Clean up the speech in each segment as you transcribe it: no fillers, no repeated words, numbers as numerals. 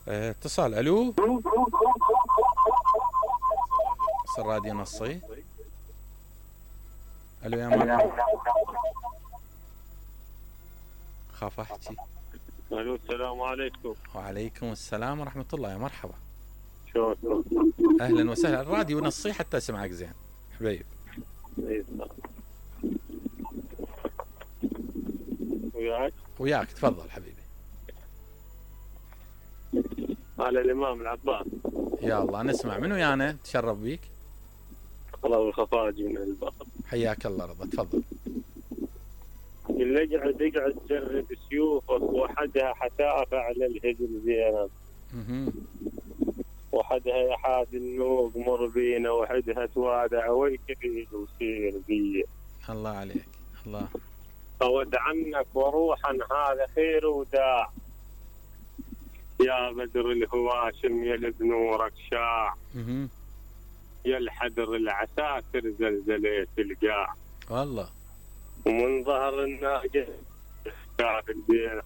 اتصال. الو. الراديو نصي. الو يا مرحبا. خاف احكي. الو السلام عليكم. وعليكم السلام ورحمة الله. يا مرحبا. شلونكم؟ اهلا وسهلا. الراديو نصي حتى اسمعك زين حبيب. وياك تفضل حبيبي. على الامام العباس. يا الله نسمع. من ويانا؟ تشرف بيك. الله الخفاجي من الباب. حياك الله رضا تفضل. اللي اقعد تجرب سيوفك وحدها حتافة على الهجل زينب. وحدها يحاد النوق مر بينا وحدها توادع ويكفي وسير بي. الله عليك. الله. أود عنك وروحا هذا خير وداع. يا بدر الهواشم يا بنورك شاع. يا الحدر العساكر زلزلت القاع. والله. ومن ظهر الناقة شاف البينا.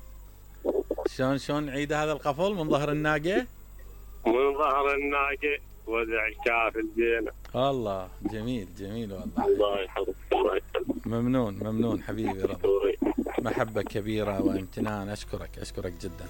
شلون عيد هذا القفل؟ من ظهر الناقة؟ من ظهر الناقة وزع شاف البينا. الله جميل جميل والله. الله يحفظك. ممنون حبيبي رضا. محبة كبيرة وامتنان. أشكرك جدا.